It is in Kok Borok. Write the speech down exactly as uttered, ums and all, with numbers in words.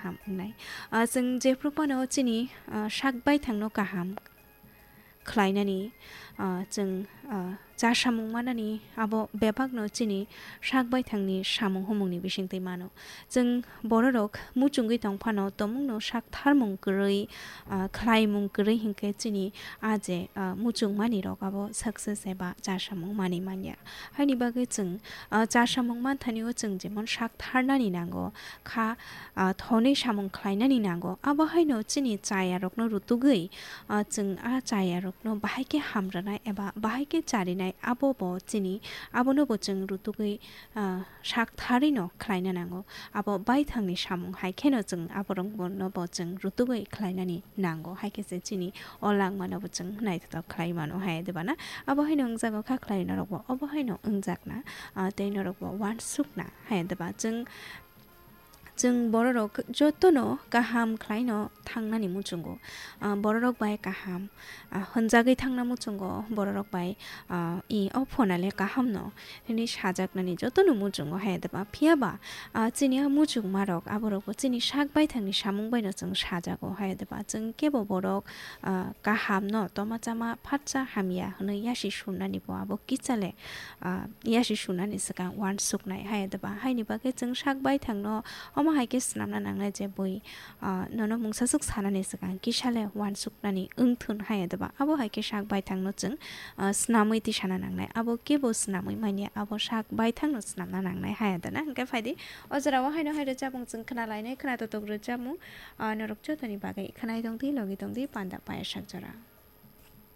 ham wngnai. Ah, chwng jephru phano chini, ah, sak baithangno kaham khlainani, ah, chwng, ah, cha samung manani abo bebakno chini sak baithangni samung humungni bisingtwi mano. Chwng bororok muchungwi tong phano tomungno sak tharmung kwrwi, ah, khlaimung kwrwi hinkhe chini a je, ah, muchungmani rok abo success eba cha samung manwi manya. Haini bagwi chwng, ah, cha samung manthanio chwng jemon sak tharnani nango, kha, ah, thonwi samung khlainani nango. Abo haino chini chayarokno rutugwi, ah, chwng a chayarokno bahai khe hamranai eba bahai khe charinai abo bo chini, abono bo chwng rutugwi, ah, sak tharwino khlaina nango. Abo baithangni samung hai kheno chwng aborokno bo chwng rutugwi khlainani nango. Hai khe se chini o langmano bo chwng naithotok khlai mano hai de bana. Abo haino wngjago kha khlai norokbo obo haino wngjakna, ah, tei norokbo uansukna hai de ba. Chwng, chwng bororok jotono kaham khlaino thangnani muchungo. Ah, bororok bai kaham, ah, hwnjagwi thangna muchungo, bororok bai, ah, i o phonale kahamno hwnwi sajaknani jotono muchungo hai de ba. Phiya ba, ah, chini a muchungmarok aborokbo chini sak baithangni samung baino chwng sajago hai de ba. Chwng kebo borok, ah, kahamno toma chama phatsa hamya hwnwi yasi surnani bo abo kichale, ah, yasi surnani swkang uansuknai hai de ba. Haini bagwi chwng sak baithangno omo hai khe swnamna nangnai je bui, ah, nono mungsaswk sanani swkang kisale uansuknani wngthun hai de ba. Abo hai khe sak baithangno chwng, ah, swnamwi tisana nangnai. Abo kebo swnamwi manya, abo sak baithangno swnamna nangnai hai de na. Hwnkhe phaidi o jorao haino hai rwchapmung chwng khna lainai, khna totok rwchapmung, ah, norok jotoni bagwi khwnai tongdi, logi tongdi, panda paya sak jora.